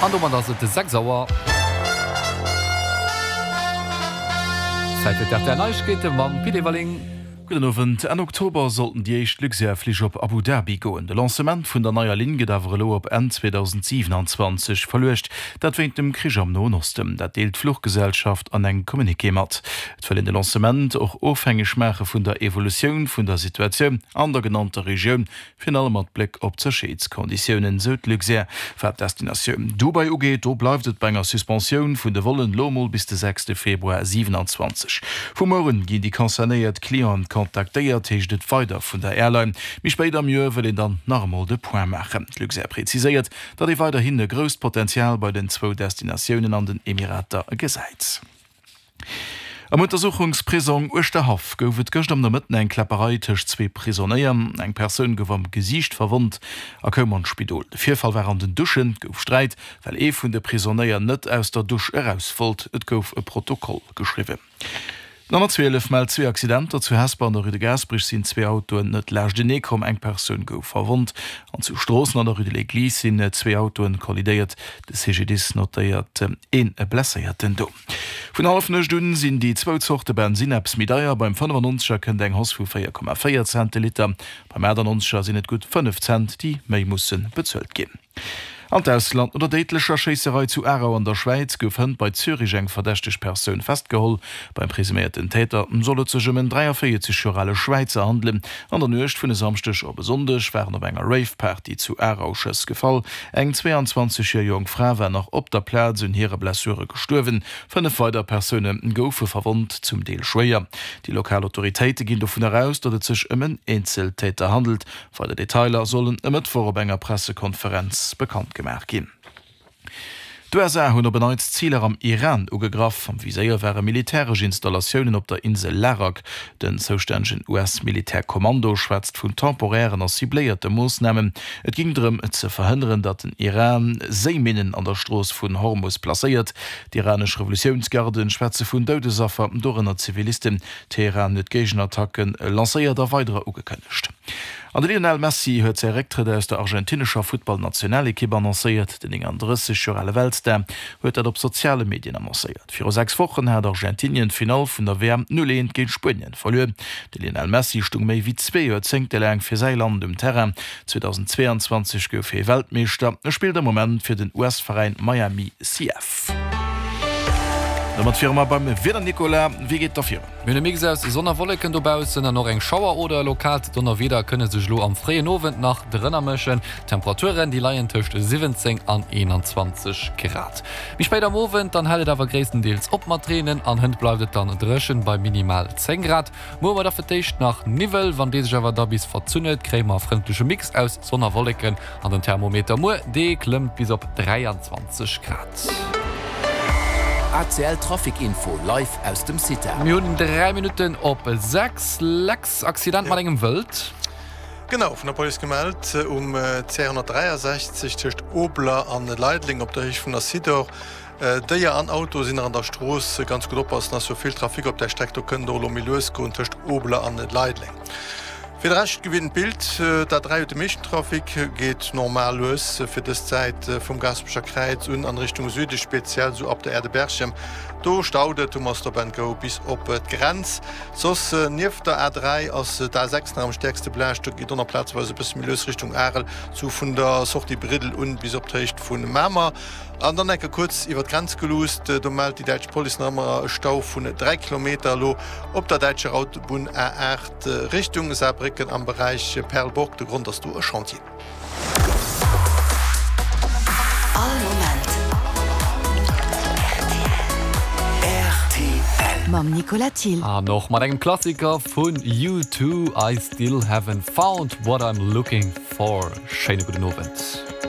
An domat ass et 6 Auer. Zäit fir d'RTL Neiegkeete mam Pit Everling. Gudden Owend. Enn Oktober sollten déi éischt Luxair-Flich op Abu Dhabi goen. De Lancement vun der neier Linn gëtt awer elo op Enn 2027 verluecht. Dat wéint dem Krich am Noen Osten. Dat deelt d'Fluchgesellschaft an engem Communiqué mat. Et wëll een de Lancement och ofhängeg maache vun der Evolutioun vun der Situatioun an der genannter Regioun. Virun allem mat Bléck op d'Sécherheetskonditiounen, sou d'Luxair. Wat d'Destinatioun Dubai ugeet, do bleift et bei enger Suspensioun vun de Vollen, lo mol bis de sechste Februar 27. Vu muer un ginn déi concernéiert Clienten kontaktéiert, heescht et weider vun der Airline. Méi spéit am Joer wëll een dann nach emol de Point maachen. D'Luxair präziséiert, datt ee weiderhin e grousst Potenzial bei den zwou Destinatiounen an den Emirater gesäit. Am Untersuchungsprisong Uerschterhaff gouf et gëscht am Nomëtten eng Kläpperei tëscht zwee Prisonéier. Eng Persoun gouf am Gesiicht verwonnt a koum an d'Spidol. De Virfall war an den Duschen. Et gouf Sträit, well ee vun de Prisonéier net aus der Dusch eraus wollt. Et gouf e Protokoll geschriwwen. Den 112 mellt zwee Accidenter. Zu Hesper an der Rue de Gaasperech sinn zwee Autoen net laanschtenee komm, eng Persoun gouf verwonnt. An zu Stroossen an der Rue de l'Église sinn zwee Autoen kollidéiert. De CGDIS notéiert ee Blesséierten do. Vun Hallefnuecht un sinn déi zwou Zorte Bensinn eppes méi deier. Beim 95er kënnt eng Hausse vu 4,4 Cent de Liter, beim 98er sinn et gutt 5 Cent, déi méi musse bezuelt ginn. An d'Ausland, No der déidlecher Schéisserei zu Aarau an der Schwäiz gouf hënt bei Zürich eng verdächteg Persoun festgeholl. Beim presuméierten Täter soll et sech ëm en 43 Joer ale Schwäizer handelen. An der Nuecht vun e Samschdeg op e Sonndeg waren op enger Rave-Party zu Aarau Schëss gefall. Eng 22 Joer jonk Fra war nach op der Plaz un hire Blessure gestuerwen. 5 weider Persoune goufe verwonnt, zum Deel schwéier. Déi lokal Autoritéite ginn dovun aus, datt et sech ëm en Eenzeltäter handelt. Weider Detailer sollen e Mëttwoch op enger Pressekonferenz bekannt gemaach ginn. D'USA hunn op en Neits Ziler am Iran ugegraff. Am Viséier ware militäresch Installatiounen op der Insel Larak. Den zoustännegen US-Militärkommando schwätzt vun temporären a cibléierte Moossnamen. Et géing drëm, ze verhënneren, datt den Iran Séiminnen an der Strooss vun Hormus placéiert. D'iranesch Revolutiounsgarden schwätze vun Doudesaffer, dorënner Zivilisten. Teheran huet Géigenattacke lancéiert a weiderer ugekënnegt. An de Lionel Messi huet säi Récktrëtt aus der argentinescher Futtballnationalekipp annoncéiert. Den 39 Joer ale Weltstar huet dat op soziale Medien annoncéiert. Viru 6 Wochen hat Argentinien d'Finall vun der WM 0, 1 géint Spuenien verluer. De Lionel Messi stung méi wéi zwee Joerzéngte laang fir säi Land um Terrain. 2022 gouf hie Weltmeeschter. E spillt am Moment fir den US-Veräin Miami CF. Domat wiere mer beim Wieder, Nicolas. Wéi geet et da virun? Mir hunn e Mix aus Sonn a Wolleken dobaussen an och eng Schauer oder e lokaalt Donnerwieder kënne sech elo am fréien Owend nach drënner mëschen. D'Temperaturen, déi leien tëscht 17 an 21 Grad. Méi spéit am Owend dann hält et awer gréisstendeels op mat reenen an hënt bleift et dann dréchen bei minimal 10 Grad. Muer hu mer da fir d'éischt nach Niwwel, wann dee sech awer da bis verzunn huet, kréie mer e frëndleche Mix aus Sonn a Wolleken an den Thermometer muer, dee klëmmt bis op 23 Grad. ACL Trafic Info live aus dem CITA. Mir hunn 3 Minutten op 6. Lex, Accident mat engem Wëld. Genau, vun der Police gemellt um CR 163 tëscht Obler an Leideleng op der Héicht vun der Sidor. Déier an Auto sinn nach an der Strooss. Ganz gutt oppassen, ass jo vill Trafic op där Streck, do kënnt et och elo méi lues goen tëscht Obler an Leideleng. Fir de Rescht gewinnt d'Bild. D'A3 huet de meeschten Trafic, geet normal lues fir dës Zäit vum Gaasperecher Kräiz un an Richtung Süde, speziell esou ab der Aire de Berchem. Do staut et um Stop and Go bis op d'Grenz. Soss nieft der A3 ass d'A6 nach am stäerkste belaascht. Do geet och nach plazeweis e bësse méi lues Richtung Arel, sou vun der Sortie Briddel un bis op d'Héicht vu Mamer. An dann enke kuerz iwwer d'Grenz geluusst, do mellt déi däitsch Police nach ëmmer e Stau vun 3 Kilometer elo op der däitscher Autobunn A8 Richtung Saarbrécken am Beräich Perlburg. De Grond ass do e Chantier. All Moment rtl. Mam Nicolas Thill. An och mat engem Klassiker vun U2, I Still Haven't Found What I'm Looking For. Schéine gudden Owend.